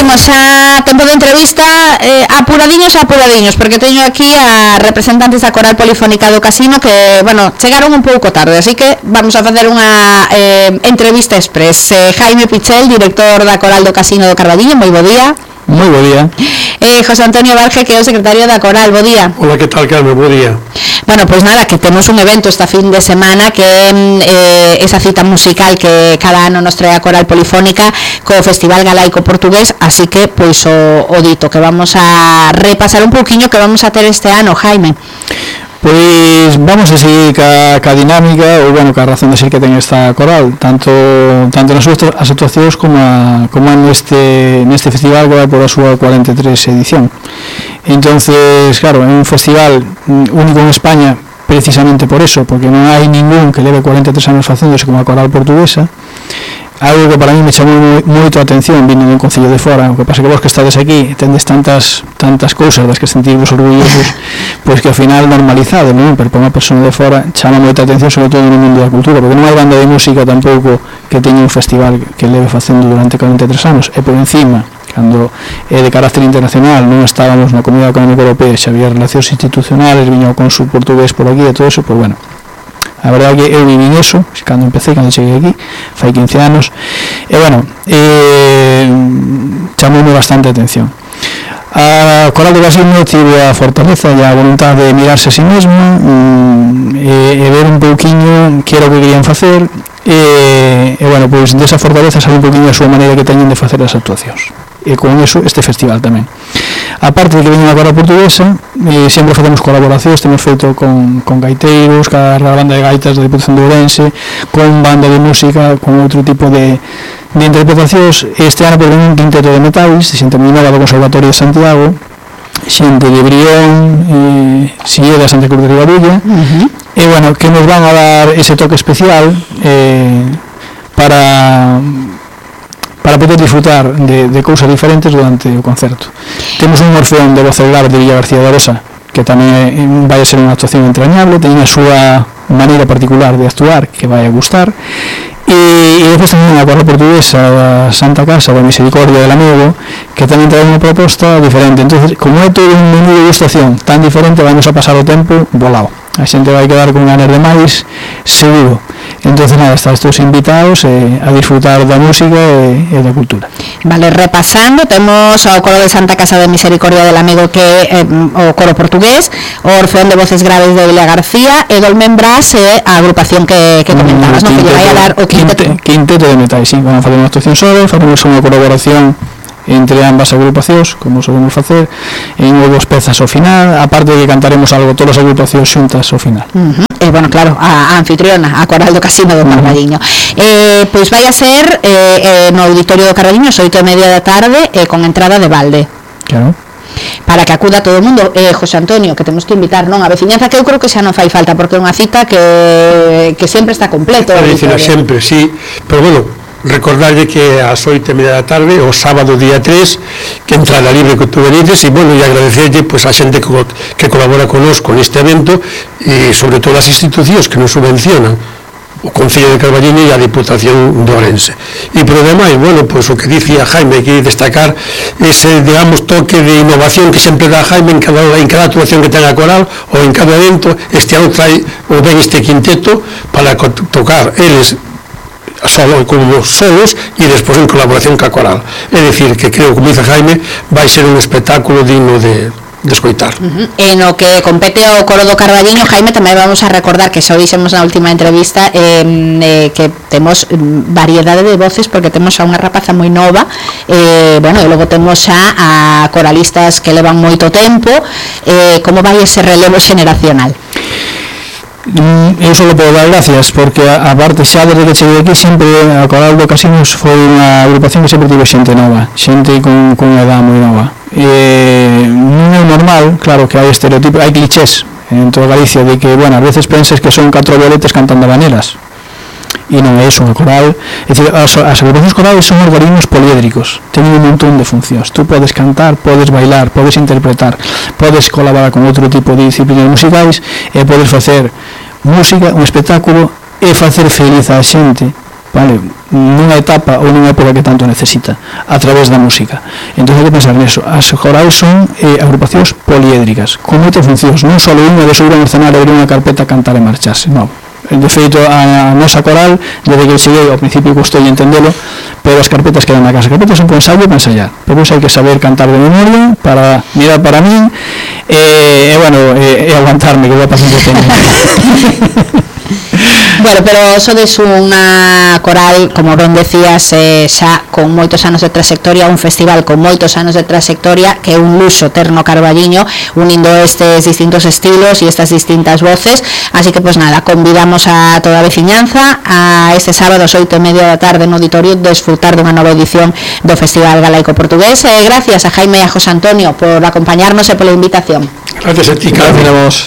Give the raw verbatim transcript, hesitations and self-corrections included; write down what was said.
temos xa tempo de entrevista, eh, apuradiños, apuradiños, porque teño aquí a representantes da Coral Polifónica do Casino que, bueno, chegaron un pouco tarde, así que vamos a facer unha eh, entrevista express. eh, Jaime Pichel, director da Coral do Casino do Carballiño, moi bo día. Moi bo día. eh, José Antonio Barge, que é o secretario da Coral, bo día. Hola, que tal, Carmen, bo día. Bueno, pois pues nada, que temos un evento esta fin de semana que é eh, esa cita musical que cada ano nos trae a Coral Polifónica co Festival Galaico Portugués, así que pois o, o dito que vamos a repasar un pouquiño que vamos a ter este ano, Jaime. Pois vamos a seguir ca, ca dinámica ou, bueno, ca razón de ser que ten esta coral, tanto tanto nas súas as actuacións como a, como neste neste festival que vai por a súa cuarenta e tres edición. Entonces, claro, é un festival único en España precisamente por eso, porque non hai ningún que leve cuarenta e tres anos facéndose como a coral portuguesa. Algo que para mí me chamou moito a atención vindo dun concello de fora, o que pasa que vos que estades aquí tendes tantas tantas cousas das que sentimos orgullosos, pois que ao final normalizado, non? Pero para unha persona de fora chama moita atención, sobre todo no mundo da cultura, porque non hai banda de música tampouco que teña un festival que leve facendo durante cuarenta e tres anos, e por encima, cando é de carácter internacional, non estábamos na Comunidade Económica Europea, xa había relacións institucionales, viña o cónsul portugués por aquí e todo eso, pois bueno, a verdade que eu viví eso cando empecé, cando cheguei aquí fai quince anos, e bueno, eh, chamoume bastante a atención. A Coral do Casino tive a fortaleza e a voluntad de mirarse a si mesmo e, e ver un pouquiño que era o que querían facer, e, e bueno, pois desa fortaleza sale un pouquiño a súa maneira que teñen de facer as actuacións, e con eso este festival tamén. Aparte de que veñen a Coral Portuguesa, eh, sempre facemos colaboracións, temos feito con, con gaiteiros, ca banda de gaitas da Diputación de Ourense, con banda de música, con outro tipo de, de interpretacións. Este ano por un quinteto de metais, xente moi nova do Conservatorio de Santiago, xente de Brión, eh, Sillé da Santa Cruz de Ribadulla, uh-huh. E bueno, que nos van a dar ese toque especial eh, para... para poder disfrutar de, de cousas diferentes durante o concerto. Temos un Orfeón de voces graves de Villa García de Arosa, que tamén vai a ser unha actuación entrañable, ten a súa maneira particular de actuar que vai a gustar, e, e depois tamén a Coral Portuguesa da Santa Casa da Misericordia del Amigo, que tamén trae unha proposta diferente. Entonces, como é todo un menú de gustación tan diferente, vamos a pasar o tempo volado. A xente vai quedar con ganas de máis, seguro. Entonces, nada, están todos invitados eh, a disfrutar da música e, e da cultura. Vale, repasando, temos o coro de Santa Casa de Misericordia del Amigo, que é eh, o coro portugués, o Orfeón de voces graves de Villa García, e Dolmen Brás é a agrupación que, que comentabas, mm, no? Que lle vai a dar o quinteto. Quinteto de metais, sí, van a fazer unha actuación sobre, facemos unha colaboración entre ambas agrupacións, como solemos facer, en dúas pezas ao final, aparte de que cantaremos algo todas as agrupacións xuntas ao final. Uh-huh. E, bueno, claro, a, a anfitriona, a Coral do Casino do Carballiño. Uh-huh. eh, pois vai a ser eh, eh, no Auditorio do Carballiño, as oito e media da tarde, eh, con entrada de balde. Claro. Para que acuda todo o mundo. eh, José Antonio, que temos que invitar, non, a veciñanza, que eu creo que xa non fai falta, porque é unha cita que, que sempre está completo. A veciñanza sempre, sí, pero bueno, recordarlle que ás oito e media da tarde, o sábado día tres, que entrada libre que tú veredes, e bueno, e agradecerlle pues, a xente que, que colabora connosco neste evento, e sobre todo as institucións que nos subvencionan, o Concello de Carballiño e a Diputación de Ourense. E por demais, bueno, pois pues, o que dicía Jaime, que destacar ese, digamos, toque de innovación que sempre dá Jaime en cada, en cada actuación que ten a coral, ou en cada evento. Este ano trae o ben este quinteto para tocar eles solo como solos e despois en colaboración ca coral. É dicir, que creo, como dice Jaime, vai ser un espectáculo digno de, de escoitar. Uh-huh. En o que compete ao coro do Carballiño, Jaime, tamén vamos a recordar que xa o dixemos na última entrevista, eh, eh, que temos variedade de voces, porque temos xa unha rapaza moi nova, eh, bueno, e logo temos xa a coralistas que levan moito tempo. Eh, como vai ese relevo xeneracional? Eu só podo dar gracias, porque a, a parte xa desde que cheguei aquí sempre a Coral do Casino foi unha agrupación que sempre tive xente nova, xente con, con unha edad moi nova. E non é normal, claro que hai estereotipos, hai clichés en toda Galicia de que, bueno, a veces pensas que son catro violetes cantando habaneras, e non é iso. A coral, é dicir, as, as agrupacións corales son organismos poliédricos, teñen un montón de funcións. Tú podes cantar, podes bailar, podes interpretar, podes colaborar con outro tipo de disciplinas musicais, e podes facer música, un espectáculo, e facer feliz a xente vale, nunha etapa ou nunha época que tanto necesita, a través da música. Entón hai que pensar neso. As corais son eh, agrupacións poliédricas, con moitas funcións, non só unha de subir a un escenario, abrir unha carpeta, cantar e marcharse, non. De feito, a, a nosa coral, desde que cheguei, ao principio custou entendelo, pero as carpetas quedan na casa. As carpetas son con ensayo para ensayar, pero hai que saber cantar de memoria, para mirar para min, e, e bueno, e, e aguantarme, que vai pasando o tempo. Bueno, pero sodes unha coral, como ben decías, eh, xa con moitos anos de trayectoria, un festival con moitos anos de trayectoria, que é un luxo ter no Carballiño, unindo estes distintos estilos e estas distintas voces. Así que, pues nada, convidamos a toda a veciñanza a este sábado, oito e media da tarde, no auditorio, desfrutar dunha nova edición do Festival Galaico Portugués. Eh, gracias a Jaime e a José Antonio por acompañarnos e pola invitación. Gracias a ti, Gracias a vos.